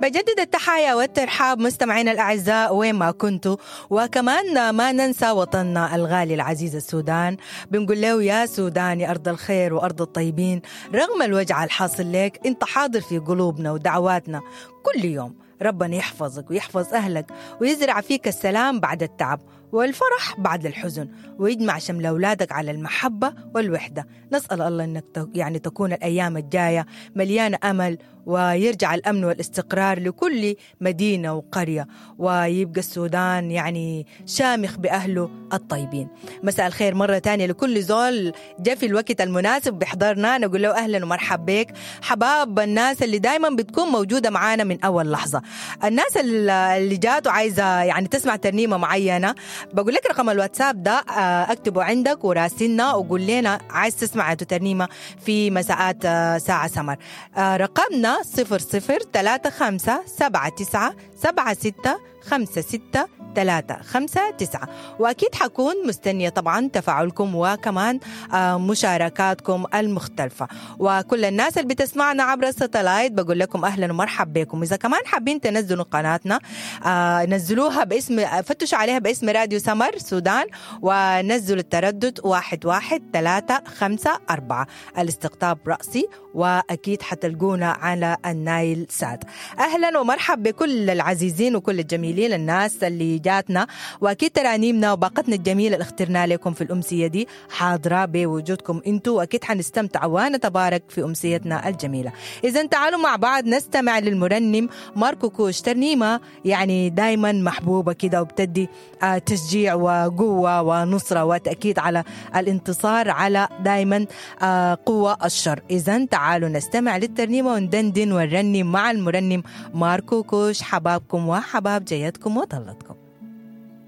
بجدد التحايا والترحاب مستمعينا الأعزاء وين ما كنتوا، وكمان ما ننسى وطننا الغالي العزيز السودان. بنقول له يا سودان يا أرض الخير وأرض الطيبين، رغم الوجع الحاصل لك انت حاضر في قلوبنا ودعواتنا كل يوم. ربنا يحفظك ويحفظ أهلك ويزرع فيك السلام بعد التعب والفرح بعد الحزن، ويجمع شمل أولادك على المحبة والوحدة. نسأل الله أنك يعني تكون الأيام الجاية مليانة أمل، ويرجع الأمن والاستقرار لكل مدينة وقرية، ويبقى السودان يعني شامخ بأهله الطيبين. مساء الخير مرة تانية لكل زول جاء في الوقت المناسب بيحضرنا، نقول له أهلا ومرحب بك. حباب الناس اللي دايما بتكون موجودة معانا من أول لحظة، الناس اللي جات وعايزة يعني تسمع ترنيمة معينة، بقول لك رقم الواتساب ده اكتبه عندك وراسلنا وقول لنا عايز تسمع ترنيمة في مساءات ساعة سمر. رقمنا 00 35 79 76 56 3 5 9. وأكيد حكون مستنية طبعا تفاعلكم وكمان مشاركاتكم المختلفة. وكل الناس اللي بتسمعنا عبر الستلايت بقول لكم أهلا ومرحب بكم. إذا كمان حابين تنزلوا قناتنا نزلوها باسم، فتشوا عليها باسم راديو سمر سودان، ونزلوا التردد 11354 الاستقطاب رأسي، وأكيد حتلقونا على النايل سات. أهلا ومرحب بكل العزيزين وكل الجميلين، الناس اللي جاتنا، واكيد ترانيمنا وباقتنا الجميله اللي اخترنا لكم في الامسيه دي حاضره بوجودكم انتم، واكيد حنستمتع ونتبارك في امسيتنا الجميله. اذا تعالوا مع بعض نستمع للمرنم ماركو كوش، ترنيمه يعني دائما محبوبه كده وبتدي تشجيع وقوه ونصره وتاكيد على الانتصار على دائما قوه الشر. اذا تعالوا نستمع للترنيمه وندندن ونرنم مع المرنم ماركو كوش. حبابكم وحباب جيتكم وطلتكم.